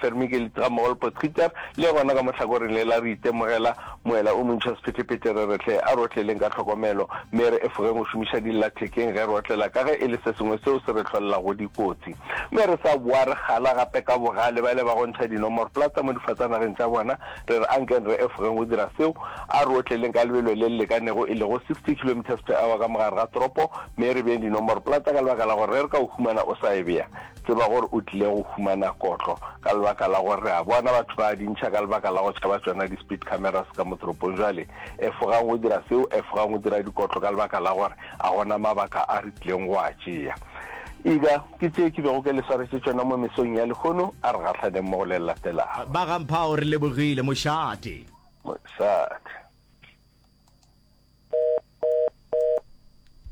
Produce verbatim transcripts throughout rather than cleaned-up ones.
Vermigelit ga mmogo le Potgieter. Le gona ka mo hlakoreng le la re itemogela moela o montši wa sephethephethe re re hle a re otleleng ka tlhokomelo mme re efogeng go šomiša dillathekeng ge re otlela ka ge e le se sengwe seo se re hlolelago dikotsi. Mme re sa boa re kgala gape ka bogale bale ba go ntšha dinomoroplata mo difatanageng tša bona, re re ankeng re efogeng go dira seo, a re otleleng ka lebelo le le lekanego e lego sixty kilometres per hour ka mogare ga toropo mme re beeng dinomoroplata ka lebaka la gore ge re ka o humana o sa e bea tseba gore o tlile go humana kotlo ka lebaka la gore re a bona batho ba a di ntšha ka lebaka la go tšhaba tšona di-speed cameras ka mo toropong. Jwale efogang go dira seo, efogang go dira dikotlo ka lebaka la gore a gona mabaka a re tlileng go a tšea. Ega ke tše ke bego ke le swaretše tšona mo mesong ya lehono, a re gahlaneng mo go le le latelago. Ba ga Mphao re lebogile, mošate. Mošate.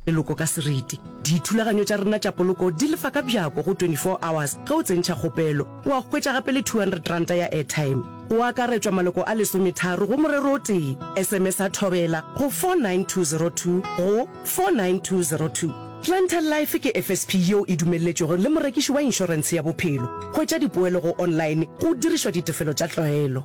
Leloko ka seriti. Dithulaganyo tša rena tša poloko di lefa ka bjako go twenty four hours ge o tsentšha kgopelo. Wa hwetša gape le two hundred ranta ya airtime. Go akaretšwa maloko a lesometharo go morero o tee. S M S a Thobela go four nine two zero two go four nine two zero two. Clientele Life ke F S P yeo e dumelletšwego le morekiši wa inšorentshe ya bophelo. Hwetša dipoelo go online go dirišwa ditefelo tša tlwaelo.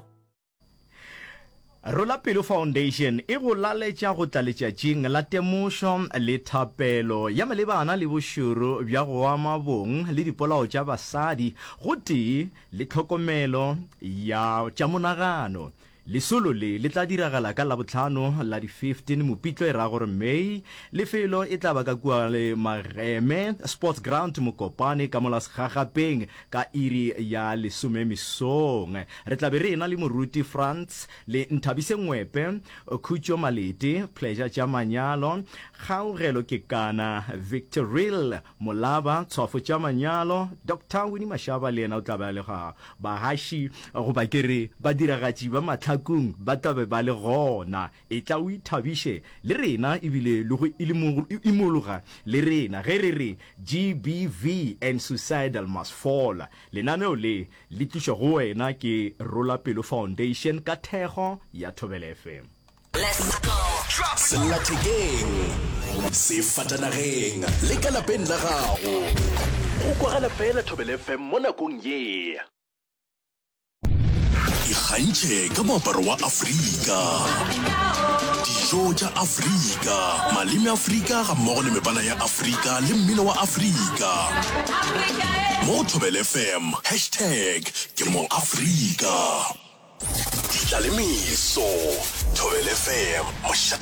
Rola Pelo Foundation e go laletša go tla letšatšing la temošo le thapelo ya malebana le bošoro bja go ama bong le dipolao tša basadi gotee le tlhokomelo ya tša monagano. Lesolo le le tla diragala ka Labohlano la di fifteen Mopitlo e ra gore May. Lefelo e tla ba ka kua le Mageme Sports Ground Mokopane ka mola Segagapeng ka iri ya lesome mesong. Re tla be re ena le Moruti Frans le Nthabise Ngwepe, Khutšo Malete, Pleasure tša Manyalo, Kgaugelo Kekana, Victoril Molaba, Tshwafo tša Manyalo, Doctor Winnie Mashaba le yena o tla be a le ga. Bahaši goba ke re badiragatši ba mahlakong ba tla be ba le gona. Etla o ithabiše le rena ebile le go imologa le rena ge re re G B V and Suicidal Must Fall. Lenaneo le le tlišwa go wena ke Rola Pelo Foundation ka thekgo ya Thobela F M. Sellathekeng, sefatanageng le ka lapeng la gago. Go kwagala fela Thobela F M mo nakong ye. Ikgantšhe ka moaparo wa Afrika, dijo tša Afrika, maleme a Afrika gammogo le mebala ya Afrika le mmino wa Afrika. Mo go Thobela F M, hashtag ke mo Afrika. Di tla le meso. Thobela F M, mošate.